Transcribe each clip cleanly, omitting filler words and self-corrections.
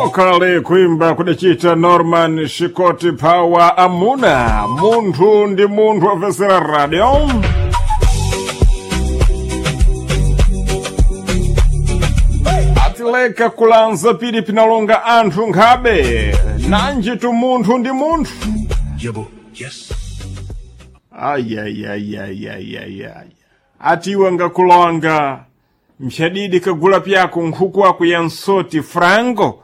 Kale kuimba kudachita Norman Shikoti Power amuna munthu ndi munthu amvesera radio. Atileka kulanza pili pinalonga anthu nkhabe nanji tu munthu ndi munthu. Yebo, yes. Ayayayayayaya atiwe ngakulonga mshadidi kagula pyako nkhuku ako ya nsoti frango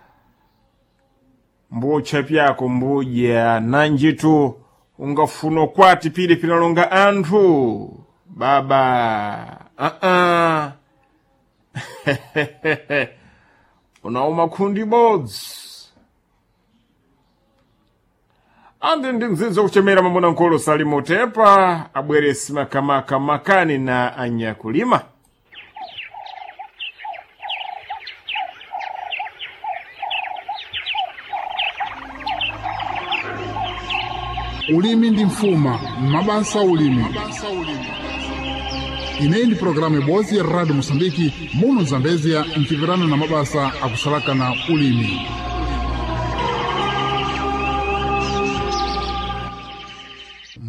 mbutcha pyako mbudya nanjitu ungafuna kwati pili pinalonga anthu baba uh-uh. Unauma khundi bodzi andi ndi mzinzi wakuchemera mamuna nkolo salimotepa abweresi makamaka makani na anyakulima. Ulimi ndi mfuma, mabasa ulimi. Ineyi ndi programu ibodzi ya Radio Moçambique muno Zambezia mchivirana na mabasa akusalaka na ulimi.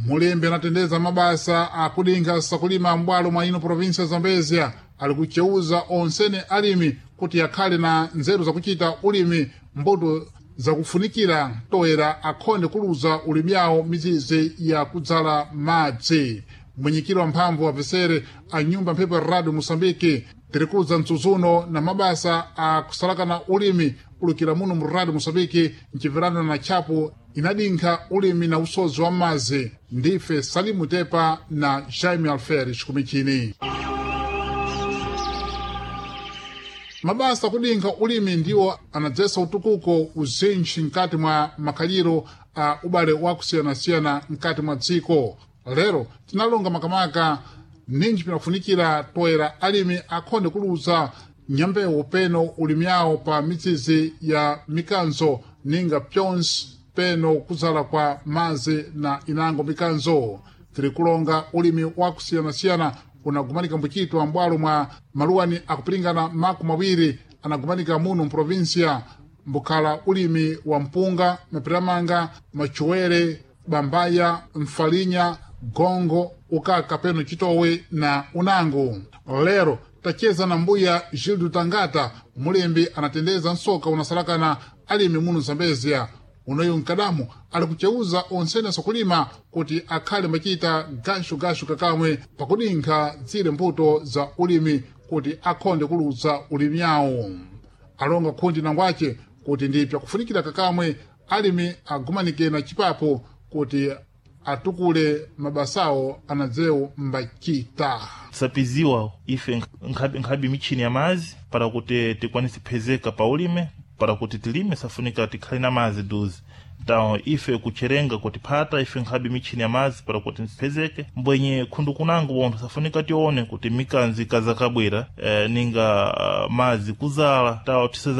Mulembe anatendeza mabasa akudinkha sakulima m'bwalo mwa ino provinsia ya Zambezia ali kuceuza onsene alimi kuti akhale na nzeru zakuchita ulimi mbuto zakufunikira toera akhonde kuluza ulimi yawo mizizi ya kudzala madzi. Mwenyekiro wa mphamvu wapesere a nyumba mphepo ya Radio Moçambique tirikudza mtsudzuno na mabasa akusalakana ulimi kulukira muno mu Radio Moçambique mchipirano na tchapo inadinkha ulimi na usodzi wa madzi. Ndife Salimu Tepa na Jaime Alferes kumichini. Mabasa akudinkha ulimi ndiwo anadzesa utukuko uzinji mkati mwa makhaliro a ubale wakusiyanasiyana mkati mwa dziko. Lero tinalonga makamaka ninji pinafunikira toera alimi akhonde kuluza nyambewu peno ulimi yawo pa mizizi ya mikanzo ninga pyonse peno kudzala kwa mazi na inango mikanzo. Tiri kulonga ulimi wakusiyanasiyana unagumanika mbuchitwa m'bwalo mwa maluwani akupiringana 20 anagumanika muno mprovinsia mbukhala ulimi wa mpunga, mapiramanga, machuwere, bambaya, mfalinya, gongo, ukaka peno chitowe na unango. Lero tacheza na mbuya Gildo Tangata, mulembi anatendeza nsoka unasalakana alimi muno Zambezia. Unoyu mkadamu ali kuceuza onsene asakulima kuti akhale machita gashugashu kakamwe pakudinkha zile mbuto za ulimi kuti akhonde kuluza ulimi yawo. Alonga khundi nangwace kuti ndi pyakufunikira kakamwe alimi agumanike na chipapo kuti atukule mabasawo anadzewo mbachita. Tisapiziwa ife nkhabe michini ya mazi para kuti tikwanise phezeka pa ulime, para kuti tilime safunika tikhale na mazi duzi. Então ife kucherenga kutiphata ife nkhabe michini ya mazi para kuti nsiphezeke mbwenye khundu kunango bontho safunika tione kuti mikanzi ikazakabwera ninga mazi kuzala tawo tisaza.